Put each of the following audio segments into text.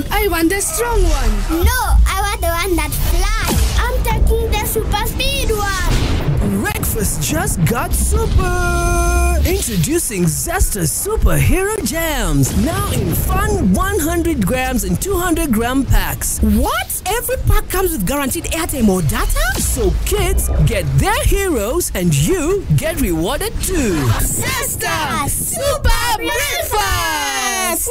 I want the strong one. No, I want the one that flies. I'm taking the super speed one. Breakfast just got super! Introducing Zesta Superhero Jams, now in fun 100 grams and 200 gram packs. What? Every pack comes with guaranteed airtime or data? So kids get their heroes and you get rewarded too. Zesta Super Breakfast!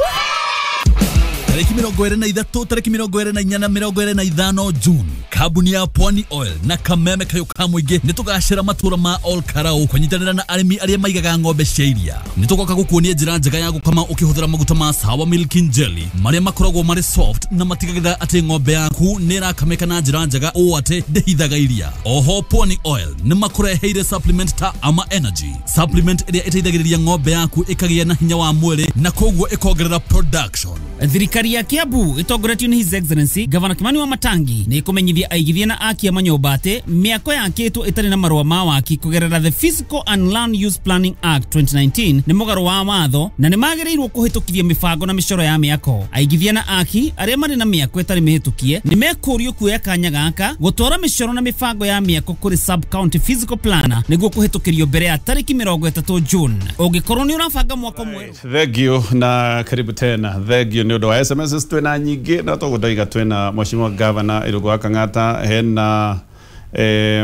Tarĩki 23, tarĩki 24 na 25 June, kambuni ya Pwani Oil na kameme kayũ ka mũingĩ nĩ tũgacĩra matũra ma Ol Karau kũnyitanĩra na arĩmi arĩa maigaga ng'ombe cia iria. Nĩ tũgoka gũkuonia njĩra njega ya gũkama ũkĩhũthĩra maguta ma Sawa Milking Jelly marĩa makoragwo marĩ soft na matigagĩrĩra atĩ ng'ombe yaku nĩ ĩrakamĩka na njĩra njega ũũ atĩ ndĩhithaga iria. Oho Pwani Oil nĩ makũreheire supplement ta Ama Energy, supplement ĩrĩa ĩteithagĩrĩria ng'ombe yaku ĩkagĩa na hinya wa mwĩrĩ na koguo ĩkongerera production. Thirikari ya Kiambu ĩtongoretio nĩ His Excellency Gavana Kimani wa Matangi nĩ ĩkũmenyithia aigithia na aki a manyũmba atĩ mĩako yakĩtwo ĩtarĩ na marũa ma waki kũgerera the Physical and Land Use Planning Act 2019 nĩ mũgarũ wa watho na nĩ magĩrĩirwo kũhĩtũkithia mĩbango na mĩcoro ya mĩako. Aigithia na aki arĩa marĩ na mĩako ĩtarĩ mĩhĩtũkie nĩ mekũrio kuoya kanya gaka gũtwara mĩcoro na mĩbango ya mĩako kũrĩ sub county physical planner nĩguo kũhĩtũkĩrio mbere ya tarĩki 30 June. Ũngĩkorwo nĩ ũrabanga mwako mwerũ. Thank you na karibu tena. Thank you nĩ ũndũ wa SMS twĩna nyingĩ na tũgũndaiga twĩna Mheshimiwa Governor Irũngũ wa Kang'ata, hena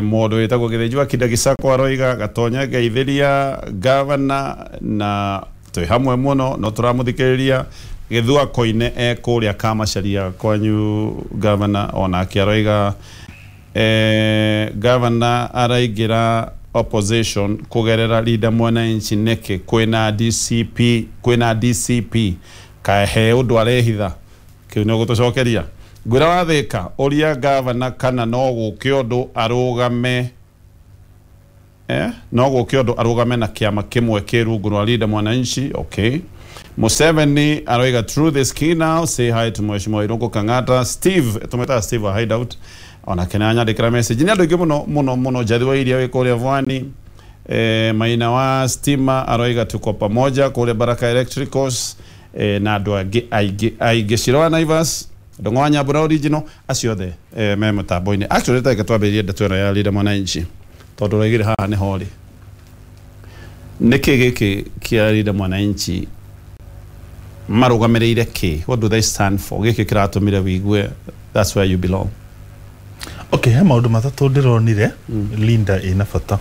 mũndũ wĩtagwo Gĩthĩnji wa Kinda Gĩcakwa aroiga Gatonya ngeithĩria Governor na twĩ hamwe mũno no tũramũthikĩrĩria. Gĩthua Koine e kũrĩa Kamacharia kwanyu Governor, onake aroiga Governor araingĩra opposition kũgerera Linda Mwananchi nĩkĩ kwĩna DCP, kwĩna DCP kahe ũndũ arehitha kĩu nĩ ũgũtũcokeria. Ngwĩra wathĩka ũria gavana kana no gũke ũndũ arũgame no gũke ũndũ arũgame na kĩama kĩmwe kĩ rungu rwa Linda Mwananchi. Okay. Museveni aroiga through this key now, say hi to Mheshimiwa Irũngũ Kang'ata. Steve tũmwĩtaga Steve wa Hideout onake nĩ anyandĩkĩra message. Nĩ andũ aingĩ mũno mũno mũno. Njathi wa iria wĩ kũrĩa Vwani, Maina wa Stima aroiga tuko pamoja kũrĩa Baraka Electricals, na andũ angĩ aingĩ aingĩ. Ciro wa Naivas, Ndong'o wa Nyambura original, acio othe me mũtambo-inĩ. Actually reke twambĩrĩrie ndeto ĩno ya Linda Mwananchi tondũ ũraigire haha nĩho rĩ. Nĩkĩ gĩkĩ kĩa Linda Mwananchi marũgamĩrĩire kĩ? What do they stand for? Gĩkĩ kĩratũmire wĩigue that's where you belong. Okay, he maũndũ matatũ ndĩronire Linda ĩna bata.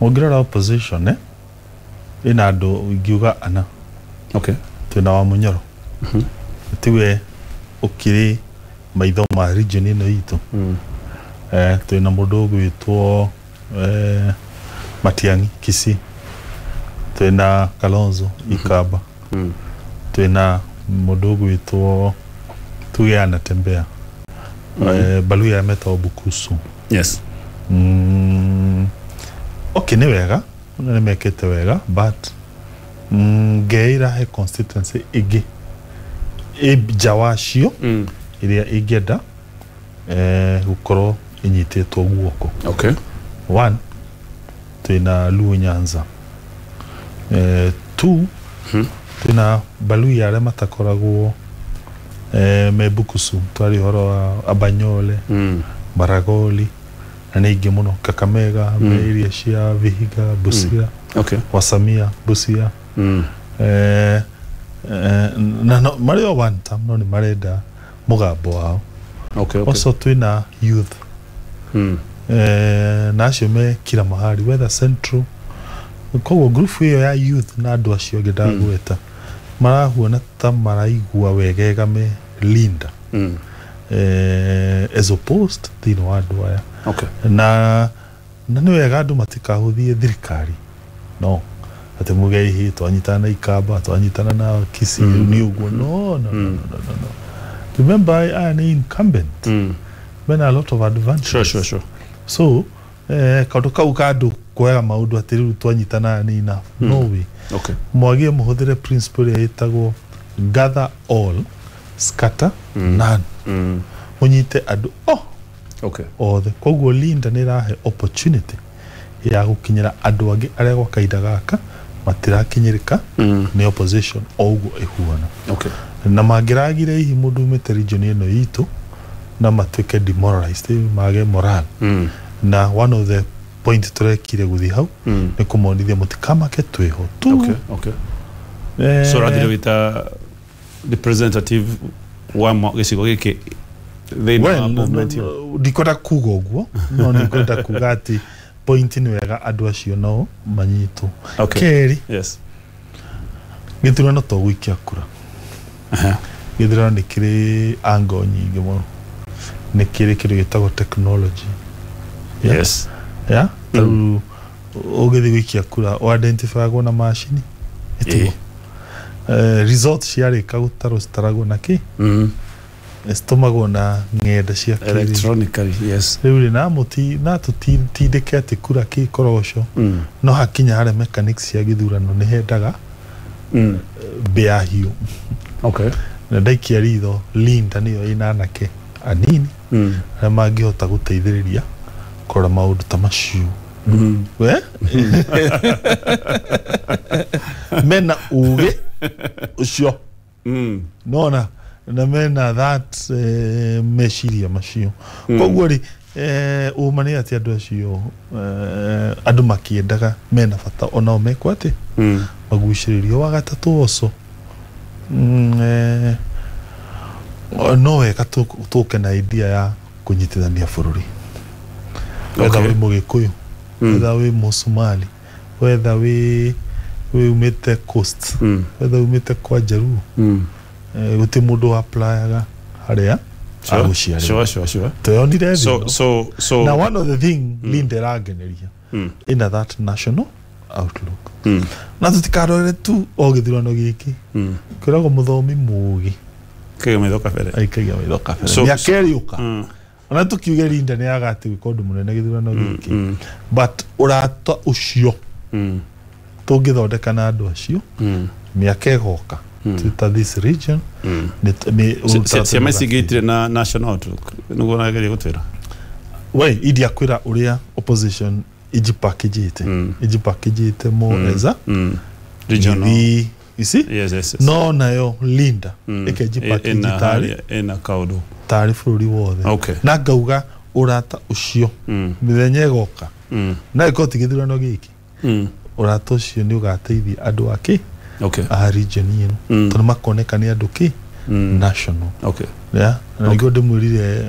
Ũngĩrora opposition ĩna andũ ingiuga ana. Okay. Twĩna wa Munyoro. Tiwe ũkĩrĩ maitho ma region ĩno itũ. Twĩna mũndũ ũgwĩtwo Matiang'i Kisii. Twĩna Kalonzo Ikamba. Twĩna mũndũ ũgwĩtwo tuge anatembea. Baluya metagwo Bukusu. Yes. Okay, nĩ wega, nĩ mekĩte wega, but ngeira he constituency ĩngĩ nja wacio ĩrĩa ĩngĩenda gũkorwo ĩnyitĩtwo guoko. Okay. One, twĩna Luo Nyanza. Two, twĩna Baluya arĩa matakoragwo me Bukusu, twari ũhoro wa Abanyole, Maragoli na nĩ ingĩ mũno, Kakamega, me iria cia Vihiga, Busia. Okay. Wasamia, Busia. Na no marĩ o one term no nĩ marenda mũgambo wao. Okay, okay. Also twĩna youth. Na acio me kila mahali, whether central. Koguo group ĩyo ya youth na andũ acio angĩ ndagweta marahuana ta maraigua wegega me Linda. As opposed thĩinĩ wa andũ aya. Okay. Na nĩ wega andũ matikahũthie thirikari. No. Atĩ muge hihi twanyitana na Ikamba, twanyitana na Kisii, nĩ ũguo. No, no, no, no, no, no. Remember, aya nĩ incumbent. Mena a lot of advantages. Sure, sure, sure. So, kaũndũ kau ka andũ kuoyaga maũndũ atĩ rĩu twanyitana nĩ enough. No way. Okay. Mwagie mũhũthĩre principle ĩrĩa ĩtagwo gather all, scatter none. Mũnyite andũ Okay. othe. Koguo Linda nĩ ĩrahe opportunity ya gũkinyĩra andũ angĩ arĩa gwa kahinda gaka matirakinyĩrĩka nĩ opposition o ũguo ĩhuana. Okay. Na mangĩragire hihi mũndũ umĩte region ĩno itũ na matuĩke demoralized, mage moral. Na one of the point tũrekire gũthiĩ hau nĩ kũmonithia mũtikamake twĩho tu. Okay. So rathire wĩta representative wa gĩcigo gĩkĩ thĩinĩ wa movement ĩyo. Ndikwenda kuga ũguo, no nĩngwenda kuga atĩ point nĩ wega andũ acio nao manyitwo. Kerĩ, yes, gĩthurano to gũikia kura. Gĩthurano nĩ kĩrĩ angle nyingĩ mũno, nĩ kĩrĩ kĩndũ gĩtagwo technology. Yes. Yeah? Tarĩu ũgĩthiĩ gũikia kura ũidentifyagwo na macini. Result ciarĩka gũtarwo citaragwo na kĩ? Citũmagwo na ng'enda cia electronically. Yes. Rĩu rĩ na tũtindĩke atĩ kura kĩ koroco, no hakinya harĩa mechanics cia gĩthurano nĩ hendaga mbĩa hiũ. Okay. Na ndaikia ritho Linda nĩyo ĩna anake anini arĩa mangĩhota gũteithĩrĩria kũrora maũndũ ta macio. We? Mena ũgĩ ũcio. Nona na mena that meciria macio. Koguo rĩ ũma nĩ atĩ andũ acio andũ makĩendaga mena bata onao mekwo atĩ magucĩrĩrio. Wa gatatũ oco no wega tũke na idea ya kũnyitithania bũrũri. Wetha wĩ Mũgĩkũyũ, wetha wĩ Mũsomali, wetha wĩ umĩte coast, wetha umĩte kwa Jaluo, gũtirĩ mũndũ applyaga harĩa agũciarĩrwo. Sure. Tweyonire thĩ. So now one of the thing Linda ĩrangeneria ina that national outlook. Na tũtikarore tu o gĩthurano gĩkĩ. Kwĩragwo mũthomi mũũgĩ kagia maitho kabere. Aikagia maitho kabere. Mĩaka ĩrĩũka ona tũkiuge Linda nĩ agati gwĩka ũndũ mũnene gĩthurano gĩkĩ, but ũrata ũcio tũngĩthondeka na andũ acio mĩaka ĩgoka ta this region ciama ici ingĩ itirĩ na national outlook nĩguo ũrageria gũtwĩra. We india kwĩra ũrĩa opposition ijipakijite more as a regional, you see? Yes. No nayo Linda ĩkejipackage tarĩ ĩna kaũndũ tarĩ bũrũri wothe. Okay. Na ngauga ũrata ũcio mĩthenya ĩgoka na ĩkorwo ti gĩthurano gĩkĩ, ũrata ũcio nĩ ũgateithia andũ akĩ a region ĩno, tondũ makoneka nĩ andũ kĩ national. Okay. Yeah. Na nĩguo ndĩmwĩrire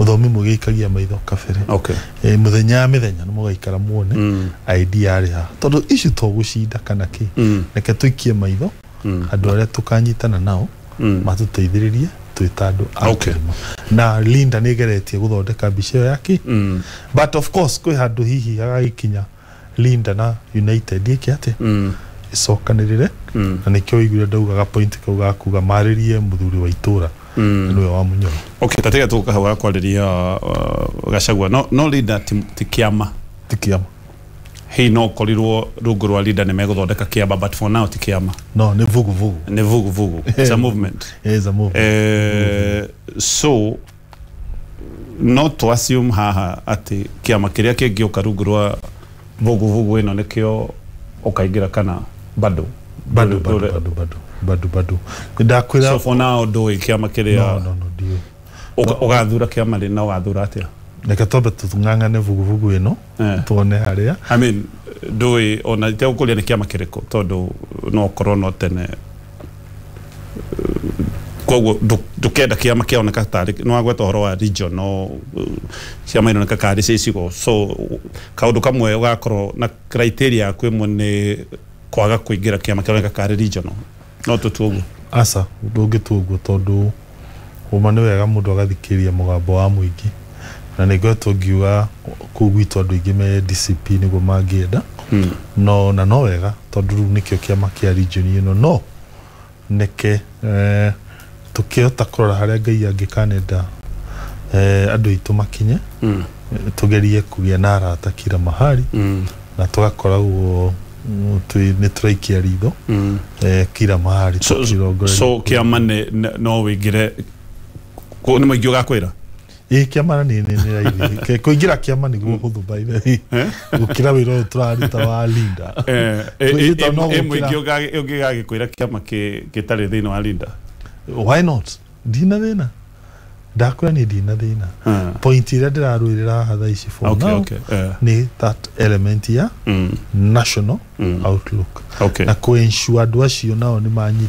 mũthomi mũgĩikagia maitho kabere. Okay. Mũthenya mĩthenya nĩ mũgaikara muone idea yarĩ haha, tondũ ici to gũcinda kana kĩ, reke tũikie maitho andũ arĩa tũkanyitana nao matũteithĩrĩrie twĩ ta andũ a kĩrĩma. Na Linda nĩ ĩgeretie gũthondeka mbica ĩyo yake, but of course kwĩ handũ hihi hagagĩkinya Linda na United ĩke atĩ ĩcokanĩrĩre, na nĩkĩo ũiguire ndaugaga point kau ga kuga marĩrie mũthuri wa itũra nĩwe wa Munyoro. Okay, tatega tũka hau gakwarĩria Gachagua. No Linda ti kĩama. Ti kĩama. Hihi no ũkorirwo rungu rwa Linda nĩ megũthondeka kĩama, but for now ti kĩama. No, nĩ vuguvugu. Nĩ vuguvugu. It's a movement. It's a movement. So not to assume haha atĩ kĩama kĩrĩa kĩngĩũka rungu rwa vuguvugu ĩno nĩkĩo ũkaingĩra kana bado. Bado. Ndakwĩra so for now ndũĩ kĩama kĩrĩa. No, ndiũĩ. Ũgathura kĩama rĩ na ũgathura atĩa? Reke twambe tũng'ang'ane vuguvugu ĩno tuone harĩa. I mean ndũĩ ona itegũkũria nĩ kĩama kĩrĩkũ tondũ no ũkorwo no tene, koguo ndũkenda kĩama kĩoneka tarĩ nĩ wagweta ũhoro wa region, no ciama ironeka karĩ cia icigo, so kaũndũ kamwe ũgakorwo na criteria yaku ĩmwe nĩ kwaga kũingĩra kĩama kĩroneka karĩ regional. No tũtue ũguo? Aca, ndũngĩtua ũguo tondũ ũma nĩ wega mũndũ agathikĩrĩria mũgambo wa mũingĩ, na nĩ ngoretwo ngiuga kũu gwitũ andũ aingĩ me DCP nĩguo mangĩenda, no na no wega tondũ rĩu nĩkĩo kĩama kĩa region ĩno, no nĩke tũkĩhota kũrora harĩa Ngai angĩkanenda andũ aitũ makinye, tũgerie kũgĩa na arata kila mahali, na tũgakoragwo nĩ tũraikia ritho kila mahali. So kĩama no wĩingĩre nĩ mũingĩ ũgakwĩra? Ĩ, kĩama na nĩ raithi. Kũingĩra kĩama nĩguo hũthũ, by the way, gũkĩra wĩra ũyũ tũraruta wa Linda. Kwĩgita no Ĩ gũkĩra- mũingĩ ũngĩgagĩkwĩra kĩama gĩtarĩ thĩinĩ wa Linda? Why not? Ndina thĩna, ndakwĩra niĩ ndina thĩna. Point ĩrĩa ndĩrarũĩrĩra haha thaa ici for now nĩ that element ya national outlook na kũ-ensure andũ acio nao nĩ manyita.